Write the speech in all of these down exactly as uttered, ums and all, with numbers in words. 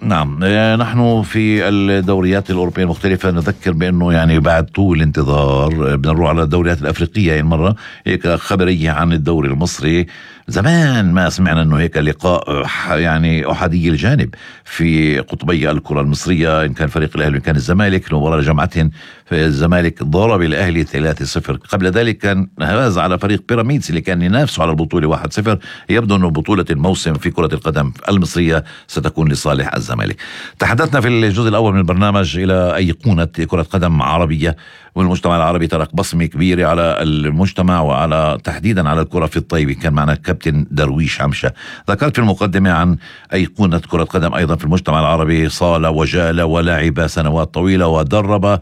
نعم، نحن في الدوريات الأوروبية المختلفة نذكر بأنه يعني بعد طول انتظار بدنا نروح على الدوريات الأفريقية. يعني مرة هيك خبرية عن الدوري المصري، زمان ما سمعنا انه هيك لقاء يعني احادي الجانب في قطبي الكرة المصرية، ان كان فريق الاهلي وان كان الزمالك. مباراة جمعتهم الزمالك ضرب الاهلي ثلاثة صفر. قبل ذلك كان فاز على فريق بيراميدز اللي كان ينافسه على البطولة واحد صفر. يبدو انه بطولة الموسم في كرة القدم المصرية ستكون لصالح الزمالك. تحدثنا في الجزء الاول من البرنامج الى ايقونة كرة قدم عربية، والمجتمع العربي ترك بصمة كبيرة على المجتمع وعلى تحديدا على الكرة في الطيبة. كان معنا كابتن درويش عمشة. ذكرت في المقدمة عن أيقونة كرة قدم أيضا في المجتمع العربي، صال وجال ولعب سنوات طويلة ودرب،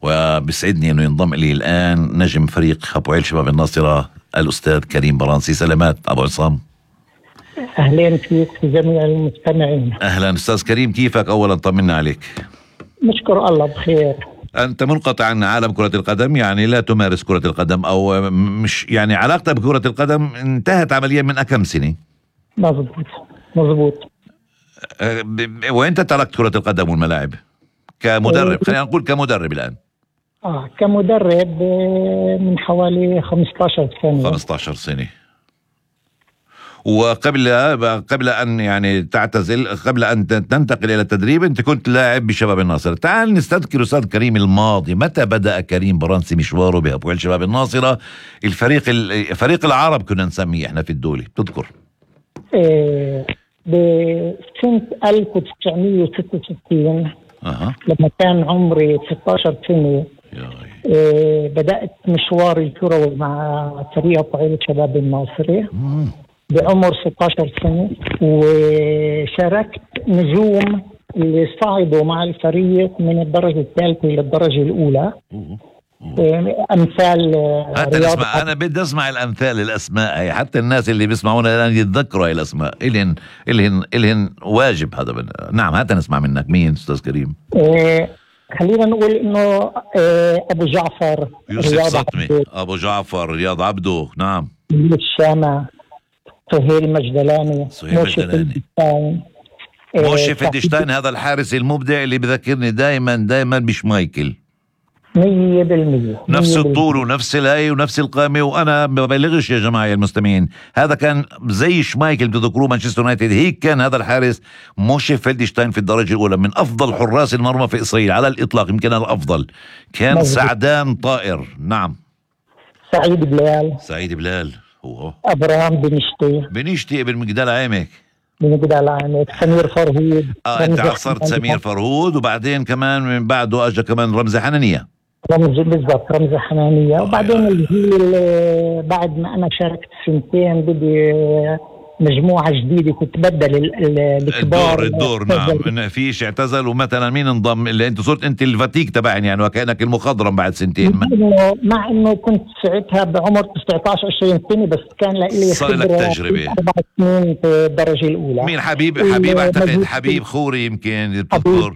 وبسعدني أنه ينضم إلي الآن نجم فريق حبوعيل شباب الناصرة الأستاذ كريم برانسي. سلامات أبو عصام. أهلين فيك في جميع المستمعين. أهلا أستاذ كريم، كيفك؟ أولا طمنا عليك. نشكر الله بخير. أنت منقطع عن عالم كرة القدم، يعني لا تمارس كرة القدم أو مش يعني علاقتك بكرة القدم انتهت عمليا من أكم سنة؟ مظبوط مظبوط. أه وأنت تركت كرة القدم والملاعب كمدرب؟ أه خلينا نقول كمدرب الآن. آه كمدرب من حوالي خمسة عشر سنة. خمسة عشر سنة. وقبل قبل أن يعني تعتزل، قبل أن تنتقل إلى التدريب، أنت كنت لاعب بشباب الناصرة. تعال نستذكر أستاذ كريم الماضي. متى بدأ كريم برانسي مشواره بحبوعيل شباب الناصرة؟ الفريق فريق العرب كنا نسميه إحنا في الدولة، تذكر؟ إيه بسنة ألف وتسعمية وستة وستين أه. لما كان عمري ستة عشر سنة. إيه بدأت مشواري الكروي مع فريق حبوعيل شباب الناصرة بعمر ستة عشر سنة، وشاركت نجوم اللي صعدوا مع الفريق من الدرجة الثالثة إلى الدرجة الأولى. أمثال حتى نسمع، أنا بدي أسمع الأمثال، الأسماء هي، حتى الناس اللي بيسمعونا الآن يتذكروا هاي الأسماء. إلهن إلهن إلهن واجب هذا بنا. نعم، حتى نسمع منك. مين أستاذ كريم؟ إيه خلينا نقول إنه إيه أبو جعفر يوسف سطمي، أبو جعفر، رياض عبده، نعم، الشامة، سهيل مجدلاني، سهيل مجدلاني، موشي فيدشتاين. هذا الحارس المبدع اللي بذكرني دائما دائما بشمايكل. مية بالمية نفس الطول ونفس الهي ونفس القامة. وأنا ما ببالغش يا جماعة المستمعين، هذا كان زي شمايكل بتذكروه مانشستر يونايتد. هيك كان هذا الحارس موشي فيدشتاين في الدرجة الأولى، من أفضل حراس المرمى في إسرائيل على الإطلاق، يمكن الأفضل. كان مزبوط. سعدان طائر. نعم. سعيد بلال، سعيد بلال هو. أبراهام بنشتي بنشتي ابن مجدال عامك من مجدال عامك. سمير فرهود. اه انت عصرت سمير فرهود، وبعدين كمان من بعده اجى كمان رمزي حنانية. رمزي بالضبط، رمزي حنانية. آه وبعدين الجيل بعد ما انا شاركت سنتين بدي مجموعة جديدة كنت بدل الكبار. الدور الدور نعم. فيش اعتزل، ومثلا مين انضم؟ اللي انت صرت انت الفتيك تبعين يعني، وكأنك المخضرم بعد سنتين. مع انه مع انه كنت ساعتها بعمر تسعة عشر عشرين سنة، بس كان لي صار لك تجربة اربع سنين في الدرجة الاولى. مين؟ حبيب حبيب اعتقد حبيب خوري، يمكن تذكر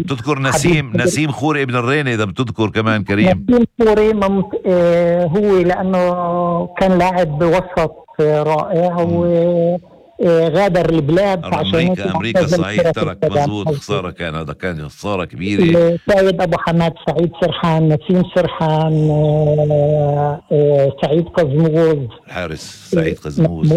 تذكر نسيم نسيم خوري ابن الريني اذا بتذكر كمان كريم. نسيم خوري ممت... آه هو لانه كان لاعب وسط رائع وغادر البلاد أمريكا أمريكا صحيح، ترك مزبوط. خسارة كان، هذا كان خسارة كبيرة. سيد أبو حماد، سعيد سرحان، نسيم سرحان، سعيد قزموز، حارس سعيد قزموز.